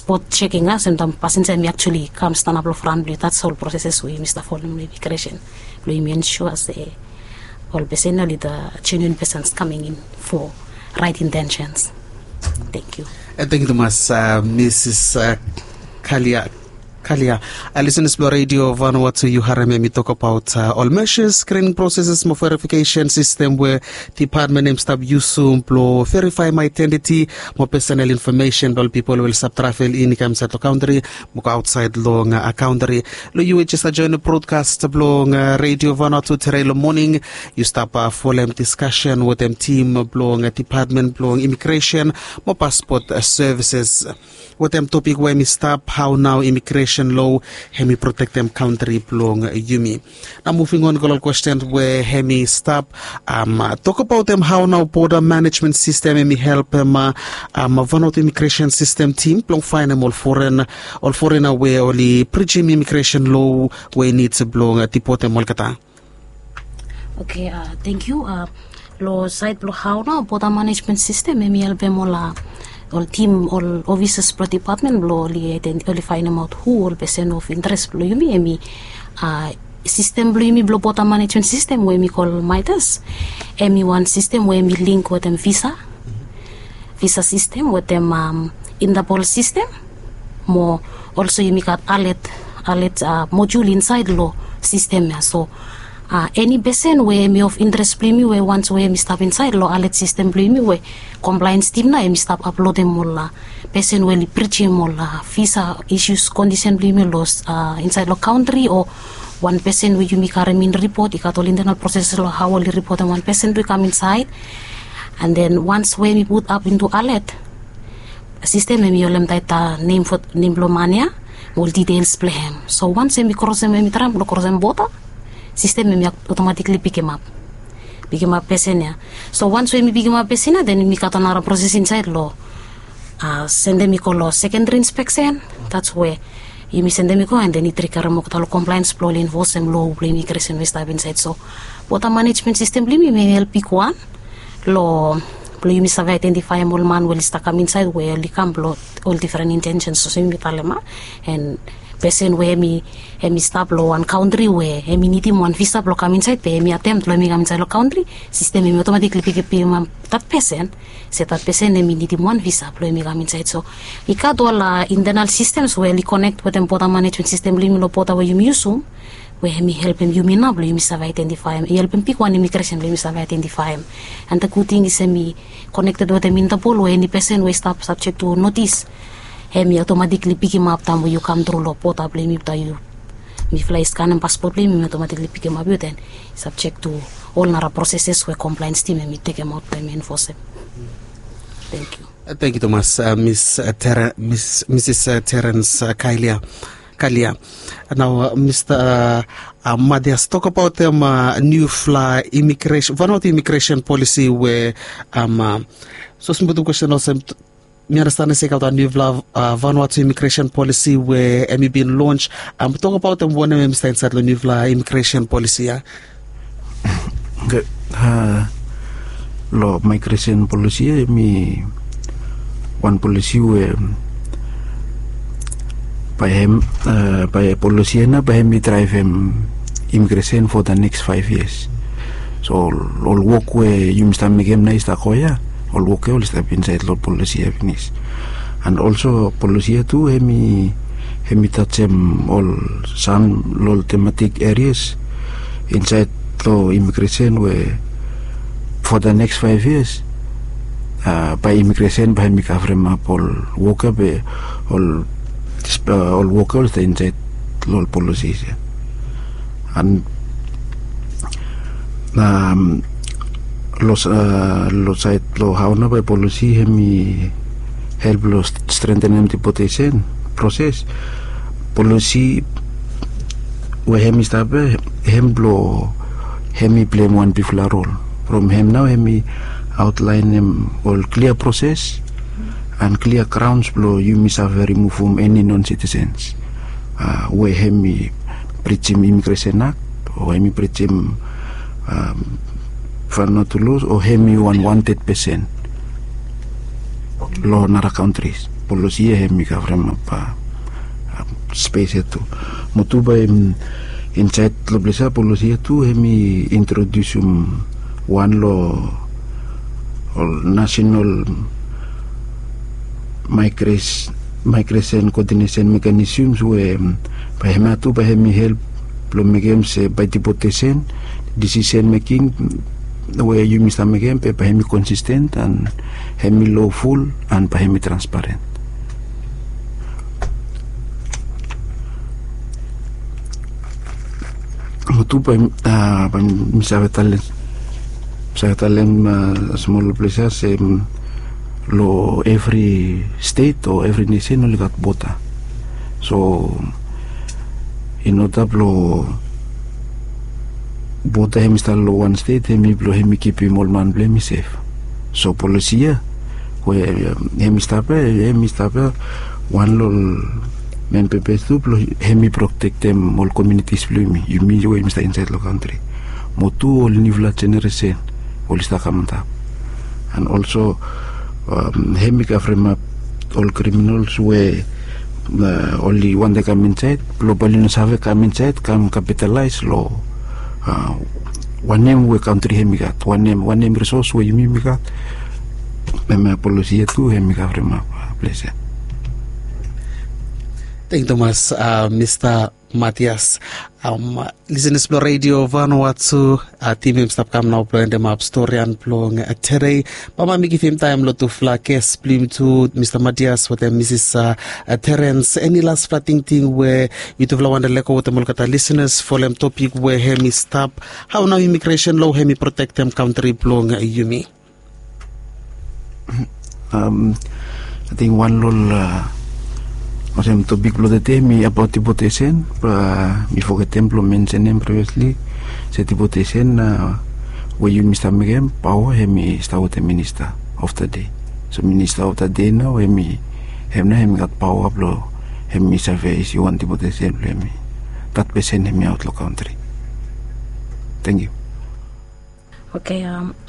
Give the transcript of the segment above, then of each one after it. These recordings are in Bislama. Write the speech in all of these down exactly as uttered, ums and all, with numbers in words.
Bot checking a sem taem pasenja em i actually kam stanap long fran blong yu. That's all processes we yumi stap folem long imigresen blong yumi ensure se ol pesen ya oli the genuine persons coming in for right intentions. Thank you. Thank you tumas, Mrs Kalia. Kalia. Listeners blong Radio Vanuatu, yu harem em i tok abaot ol measures, screening processes mo verification system we department em stap yusum blong verifaem identity mo personal information blong ol pipol we oli stap travel in i kam insaed long kantri mo go aotsaed long kantri. Long yu we jes joenem brodkas blong Radio Vanuatu tude long moning, yu stap folem diskasen wetem tim blong department blong imigresen mo paspot services wetem topik we em i stap hao nao imigresen loa em i protektem kantri blong yumi. Nao muving on go long ol kwesten we em i stap, tokabaot em hao nao boda manejmen sistem em i helpem Vanuatu imigresen sistem tim blong faenem ol foren, ol forena we oli brijim imigresen loa we i nid blong dipotem olgeta. Oke, thank you. Long saed blong hao nao boda manejmen sistem em i helpem ol, ol tim, ol ofisas blong dipatmen blong oli faenemaot hu ol pesen of interes blong yumi. Em i sistem blong yumi blong boda manejmen sistem we em i kol MIDAS. Em i wan sistem we em i link wetem visa, visa sistem wetem intapol sistem mo olso yumi gat alet, alet mojul insaed long sistem ya. So eni pesen we em i of interes blong yumi we wans we em i stap insaed long alet sistem blong yumi we komplaens tim nao em i stap aplodem ol pesen we oli brijim ol visa isus kondisen blong yumi long insaed long kantri o wan pesen we yumi karem in ripot, i gat ol intenal proses long hao oli ripotem wan pesen blong i kam insaed. And then wans we em i put ap intu alet sistem em i holem taeta nem blong man ya mo ol details blong hem. So wans em i krosem, em i traem blong krosem boda, sistem em i otomatikli pikimap, pikimap pesen ya. So wans we em i pikimap pesen ya, den em i gat ol nara proses insaed long sendem i go long sekendri inspeksen. That's where yumi sendem i go and then i trigarem olgeta long komplaens blong oli enfosem loa blong imigresen we i stap insaed. So boda manejmen sistem blong yumi em i help bigwan long blong yumi save aedentifaem ol man we oli stap kam insaed we oli kam blong ol difren intensens olsem yumi talem a. And pesen we em i, em i stap long wan kantri we em i nidim wan visa blong kam insaed be em i atem blong em i kam insaed long kantri, sistem em i otomatikli pikimap that pesen se that pesen em i nidim wan visa blong em i kam insaed. So i gat ol intenal sistems we oli konek wetem boda manejmen sistem blong yumi long boda we yumi yusum we em i helpem yumi nao blong yumi save aedentifaem, i helpem bigwan imigresen blong yumi save aedentifaem. And the good thing is em i konekted wetem intapol we eni pesen we i stap sabjek tu notis em i otomatikli pikimap taem we yu kam tru long boda blong yumi, taem yu, mifala i skanem paspot blong yumi, em i otomatikli pikimap yu, then i sabjek tu ol nara proseses we komplaens tim em i tekemaot blong em i enfosem. Thank you. Thank you tumas, Misis Terens Kalia. Kalia. Nao Mista Matias, tokabaot em niufala imigresen, Vanuatu imigresen polisi we, so small kwesten olsem, mi anasten se i gat wan niufala Vanuatu imigresen polisi we em i bin lons. Tokabaot em wanem em i stap insaed long niufala imigresen polisi ya. Long migresen polisi ya em i wan polisi we bae hem, bae polisi ya nao bae hem i draevem imigresen for the next five years. So ol wok we yumi stap mekem nao i stap go ya, ol wok ya oli stap insaed long polisi ya finis. And olso polisi ya tu hem i, hem i tajem ol sam long ol tematik erias insaed long imigresen we for the next five years bae imigresen bae hem i kavremap ol wok ya be ol, ol wok ya oli stap insaed long ol polisis ya. And long saed long hao nao bae polisi hem i help long strentenem dipotesen proses, polisi we hem i stap ya hem blong hem i pleim wan bigfala rol. From hem nao hem i aotlaenem ol klia proses and klia graons blong yumi save rimuvum eni non sitisens we hem i brijim imigresen akt o hem i brijim Vanuatu los o hem i wan wanted pesen long nara kantris. Polosi ia hem i kavremap spes ia tu. Mo tu bae hem insaed long ples ia, polosi ia tu hem i introdiusim wan long ol nasenal maigres maigresin koodinesen mekanisims we bae hem ia tu bae hem i help blong mekem se bae dipotesen, disisen meking we yumi stap mekem be bae hem i konsisten an hem i loful an bae hem i transparen. Mo tu bae mi save talem mi save talem smol ples ia se long evri stet o evri nesen oli gat boda. So in oda blong boda hem i stap long wan stet hem i blong hem i kipim ol man blong hem i sef. So polosi ia we hem i stap ia hem i stap ia wan long ol memba bes tu blong hem i protektem ol komunitis blong yumi, yumi we yumi stap insaed long kantri. Mo tu ol niufala jeneresen oli stap kam antap. An olso hem i kavremap ol kriminals we oli wantem kam insaed blong bae oli no save kam insaed kam kapitalaes long wanem we kantri hem i gat, wanem wanem risos we yumi yumi gat. Hemia polosi ia tu hem i kavremap ples ia. Tengyu tumas mista Matias. Lisenas blong redio Vanuatu, tim hem i stap kam nao blong endemap storian blong tedei. Bambae mi givim taem long tufala ges blong yumi tu, mista Matias wetem misis Terens, eni lasfala tingting we yutufala wantem lego wetem olgeta lisenas folem topik we hem i stap, hao nao imigresen lo hem i protektem kantri blong yumi? Ating wan long ol olsem topik blong tede hem i abaot dipotesen. Bae mi fogetem blong mensenem previosli se dipotesen we yumi stap mekem paoa hem i stap wetem minista of da dei. So minista of da dei nao hem i hem nao hem i gat paoa blong hem i save isi wan dipotesen blong hem i dat pesen hem i aot long kantri. Tengyu. Oke,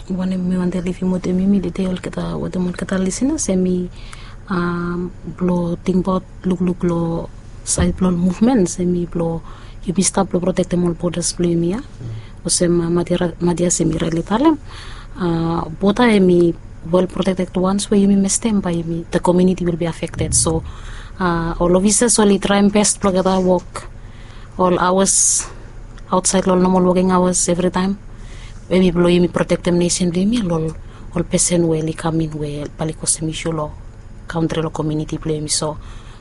wanem mi wantem livim wetem yumi tede olgeta wetem olgeta lisenas hem i blong tingbaot lukluk long saed blong ol muvmens hem i blong yumi stap blong protektem ol bodas blong yumi ia. Olsem Matias hem i raetli talem, boda hem i wel protekted. Wans we yumi mestem bae yumi, the community will be affected. So ol ofisas oli traem bes blong olgeta wok ol aoas aotsaed long ol nomal woking aoas evritaem. Hem i blong yumi protektem nesen blong yumi long ol pesen we oli kam in we bae oli kosem isu long kantri long komuniti blong yumi. So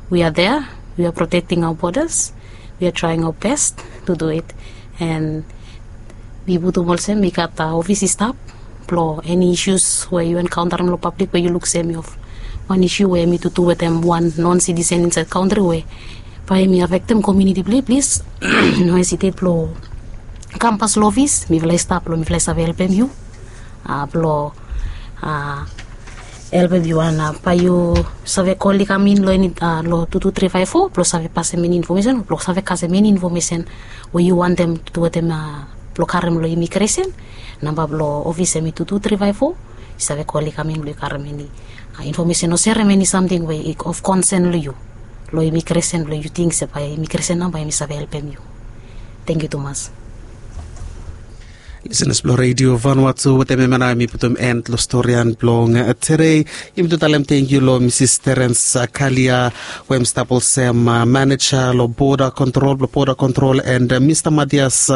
we are there, we are protecting our borders, we are trying our best to do it. And mi putum olsem mi gat ofis i stap blong eni isus we yu enkaontarem long pablik we yu luk se hem i of wan isu we hem i tutu wetem wan non sitisen insaed kantri we bae hem i afektem komuniti blong yu, plis no hesitet blong kam pas long ofis, mifala i stap blong mifala i save helpem yu blong helpem yu. An bae yu save kol i kam in long eni long tu tu tri faef fo blong save pasem eni infomesen o blong save kasem eni infomesen we yu wantem tu wetem blong karem long imigresen. Namba blong ofis hem i tu tu tri faef fo. Yu save kol i kam in blong yu karem eni infomesen o serem eni samting we i of konsen long yu long imigresen blong yu ting se bae imigresen nao bae hem i save helpem yu. Tengyu tumas. Lisenas blong redio Vanuatu, wetem hemia nao hem i putum en long storian blong tedei. Yumi tu talem tengyu long misis Terens Kalia we hem i stap olsem maneja long boda kontrol blong boda kontrol, and mista Matias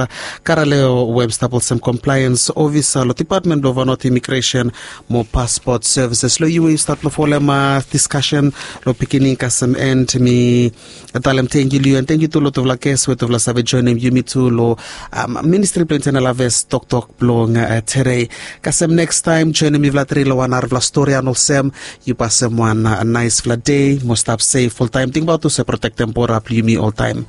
Karaleo we hem i stap olsem komplaens ofisa long dipatmen blong Vanuatu Imigresen mo Paspot Sevises. Long yu we yu stat long folem diskasen long pikinini kasem en, mi talem tengyu long yu, and tengyu tu long tufala ges we tufala save joenem yumi tu long Ministri blong Intenal Aves toktok blong tedei. Kasem nekstaem joenem mifala tri long wan narafala storian olsem. Yu pasem wan naesfala dei mo stap sef oltaem. Tingbaot tu se protektem boda blong yumi oltaem.